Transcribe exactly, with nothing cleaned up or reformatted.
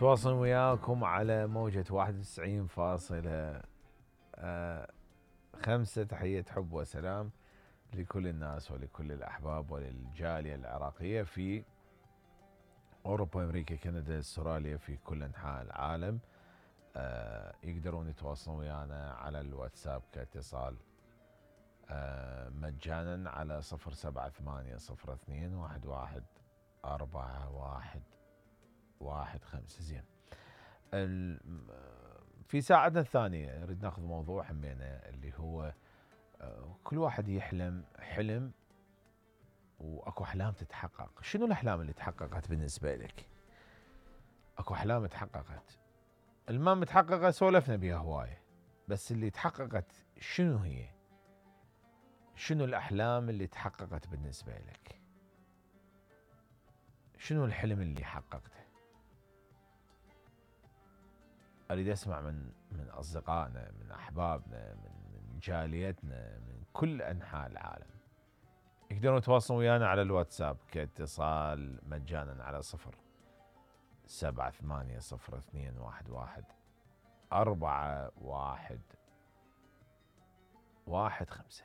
تواصل وياكم على موجة واحد وتسعين فاصلة خمسة. تحية حب وسلام لكل الناس ولكل الأحباب وللجالية العراقية في أوروبا، أمريكا، كندا، استراليا، في كل أنحاء العالم. يقدرون يتواصلون ويانا على الواتساب كاتصال مجانا على صفر سبعة ثمانية صفر اثنين واحد واحد أربعة واحد واحد خمسة. زين، في ساعتنا الثانية نريد ناخذ موضوع همينة اللي هو كل واحد يحلم حلم واكو احلام تتحقق. شنو الاحلام اللي تحققت بالنسبة لك؟ اكو احلام تحققت، الما متحققة سولفنا بها هواية، بس اللي تحققت شنو هي؟ شنو الاحلام اللي تحققت بالنسبة لك؟ شنو الحلم اللي حققته؟ اريد اسمع من من اصدقائنا، من احبابنا، من من جاليتنا، من كل انحاء العالم. يقدرون يتواصلون ويانا على الواتساب كاتصال مجانا على صفر سبعة ثمانية صفر اثنين واحد واحد أربعة واحد واحد خمسة.